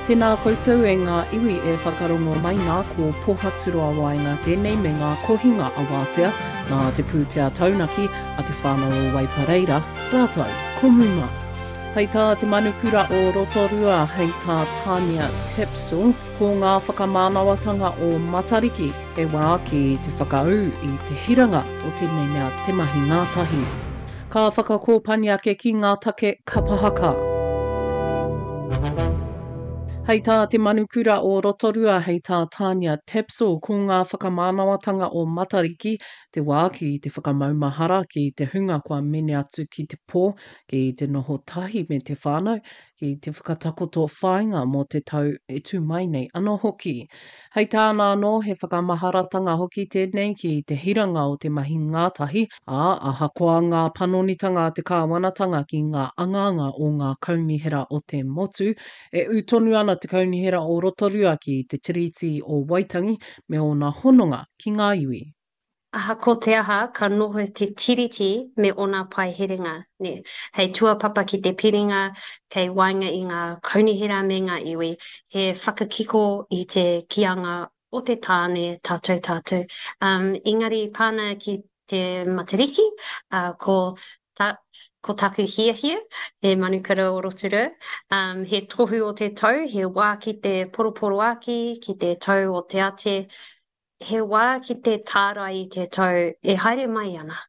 Tēnā koutou e ngā iwi e whakarongo mai nā, ko Pohaturoa Waenga tēnei me ngā kohinga awātea nā te pūtea taunaki a te whānau o Waipareira rātou ko Muma. Hei tā te manukura o Rotorua, hei tā Tania Tapsell, ko ngā whakamānawatanga o Matariki he wā ki te whakaū i te hiranga o tēnei mea te mahi ngātahi. Ka whakakōpani ake ki ngā take kapa haka. Hei tā te manukura o Rotorua, hei tā Tania Tapsell, ko ngā whakamānawatanga o Matariki te wā ki te whakamaumahara ki te hunga kua mene atu ki te pō, ki te noho tahi me te whānau, ki te whakatakoto whāinga mō te tau e tū mai nei anō hoki. Hei tāna anō, he whakamaharatanga hoki tēnei ki te hiranga o te mahi ngātahi, ā, ahakoa ngā panonitanga a te kāwanatanga ki ngā angaanga o ngā kaunihera o te motu, e ū tonu ana te Kaunihera o Rotorua ki te Tiriti o Waitangi me ōna hononga ki ngā iwi. Ahakoa te aha, ka noho te Tiriti me ōna paeherenga, nē, hei tuapapa ki te piringa kei waenga i ngā kaunihera me ngā iwi, he whakakiko i te kīanga o te tāne tātou tātou. Um, engari pāna ki te Matariki, uh, ko ta, ko taku hiahia, he manukura o Rotorua, um, he tohu o te tau, he wā ki te poroporoāki, ki te tau o te ate, He wā ki te tārai i te tau e haere mai ana.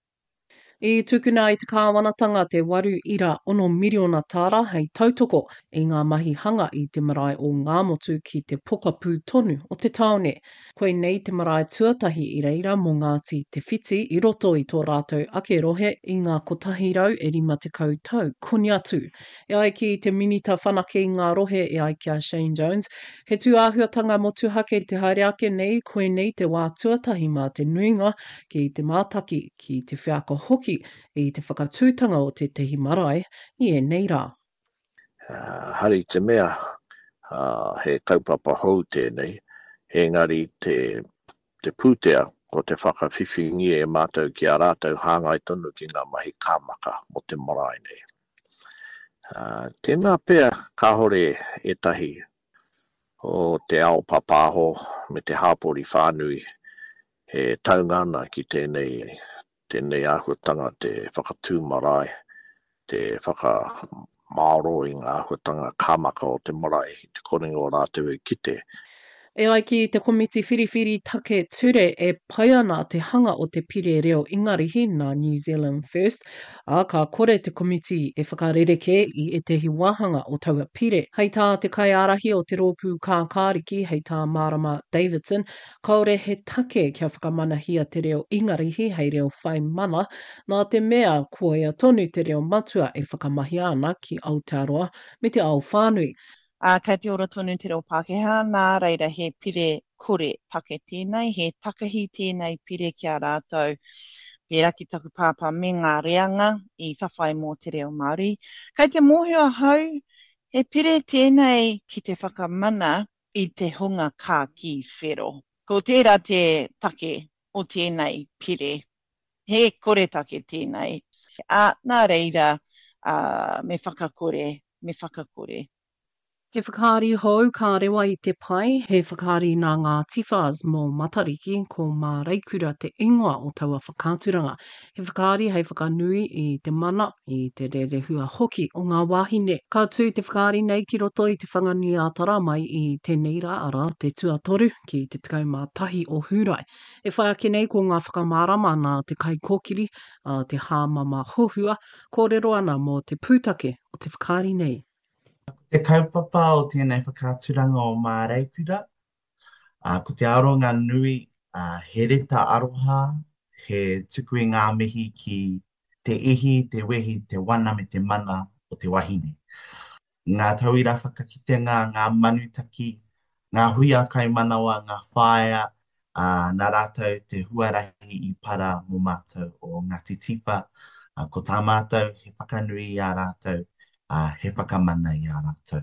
I tukuna e te kāwanatanga te 8.6 miriona tāra hei tautoko i ngā mahi hanga i te marae o Ngāmotu ki te pokapū tonu o te tāone. Koinei te marae tuatahi i reira mō Ngāti Te Whiti i roto i tō rātou ake rohe i ngā 150 tau koni atu. E ai ki te Minita Whanake i ngā Rohe e ai ki a Shane Jones, he tūāhuatanga motuhake te haere ake nei, koinei te wā tuatahi mā te nuinga ki te mātaki, ki te wheako hoki i te whakatūtanga o tētahi marae i ēnei rā. Hari te mea he kaupapa hou tēnei, engari te te pūtea ko te whakawhiwhingia e mātou ki a rātou hāngai tonu ki ngā mahi kāmaka mō te marae nei. Tēnā pea kāore ētahi o te ao pāpāho me te hāpori whānui e taunga ana ki tēnei, tēnei āhuatanga te whakatū marae, te whakamāoro i ngā āhuatanga kāmaka o te marae i te korenga o rātou e kite. E ai ki te Komiti Whiriwhiri Take Ture e pai ana te hanga o te pire reo Ingarihi nā New Zealand First, ā, ka kore te komiti e whakarerekē i ētehi wāhanga o taua pire. Hei tā te kaiārahi o te Rōpū Kākāriki, hei tā Marama Davidson, kāore he take kia whakamanahia te reo Ingarihi hei reo whai mana, nā te mea koia tonu te reo matua e whakamahia ana ki Aotearoa me te ao whānui. Ā, kei te ora tonu te reo Pākehā, nā reira he pire kore take tēnei, he takahi tēnei pire ki a rātou, pērā ki taku pāpā me ngā reanga i whawhai mō te reo Māori. Kei te mōhio ahau, he pire tēnei ki te whakamana i te hunga kākī whero. Ko tērā te take o tēnei pire. He koretake tēnei. Ā, nā reira, ā, me whakakore, me whakakore. He whakaari hou ka rewa i te pae, he whakaari nā ngā Tifas mō Matariki, ko Māreikura te ingoa o taua whakaaturanga. He whakaari hei whakanui i te mana, i te rerehua hoki o ngā wāhine. Ka tū te whakaari nei ki roto i Te Whanganui-ā-Tara mai i tēnei rā, arā, te tuatoru ki te 11 o Hūrae. E whai ake nei ko ngā whakamārama nā te kaikōkiri, a Te Hāmama Hohua, kōrero ana mō te pūtake o te whakaari nei. Ko te kaupapa o tēnei whakaaturanga o Māreikura, ko te aronga nui, he reta aroha, he tuku i ngā mihi ki te ihi, te wehi, te wana me te mana o te wahine. Ngā tauira whakakitenga, ngā manutaki, ngā huia kaimanawa, ngā whāea, ā, nā rātou te huarahi i para mō mātou o Ngāti Tiwha. Ā, ko tā mātou he whakanui i a rātou, ā, he whakamana i a rātou.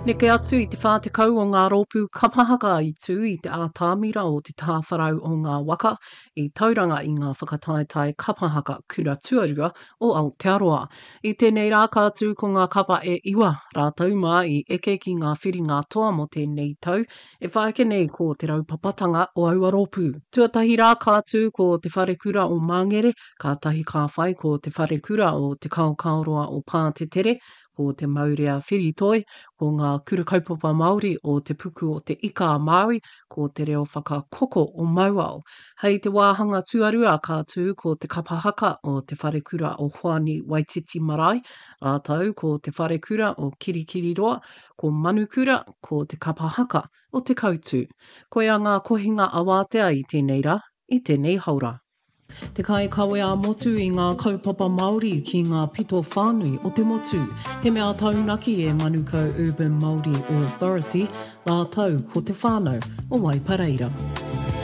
Neke atu i te 40 o ngā rōpū kapa haka i tū i te ātamira o Te Tāwharau o Ngā Waka i Tauranga i ngā whakataetae kapa haka kura tuarua o Aotearoa. I tēnei rā ka tū ko ngā kapa e iwa rātou mā i eke ki ngā whiringa toa mō tēnei tau E whai ake nei ko te raupapatanga o aua rōpū. Tuatahi rā ka tū ko Te Wharekura o Māngere, kātahi ka whai ko Te Wharekura o Te Kaokaoroa o Pātetere, ko Te Maurea Whiritoi, ko Ngā Kura Kaupapa Māori o Te Puku o Te Ika a Māui, ko Te Reo Whakakoko o Mauao. Hei te wāhanga tuarua ka tū ko Te Kapa Haka o Te Wharekura o Hoani Waititi Marae, rātou ko Te Wharekura o Kirikiriroa, ko Manukura, ko Te Kapa Haka o Te Koutu. Koia ngā kohinga awātea i tēnei rā, i tēnei haora. Te kaikawe ā-motu i ngā kaupapa Māori ki ngā pito whānui o te motu. He mea taunaki e Manukau Urban Māori Authority rātou ko te whānau o Waipareira.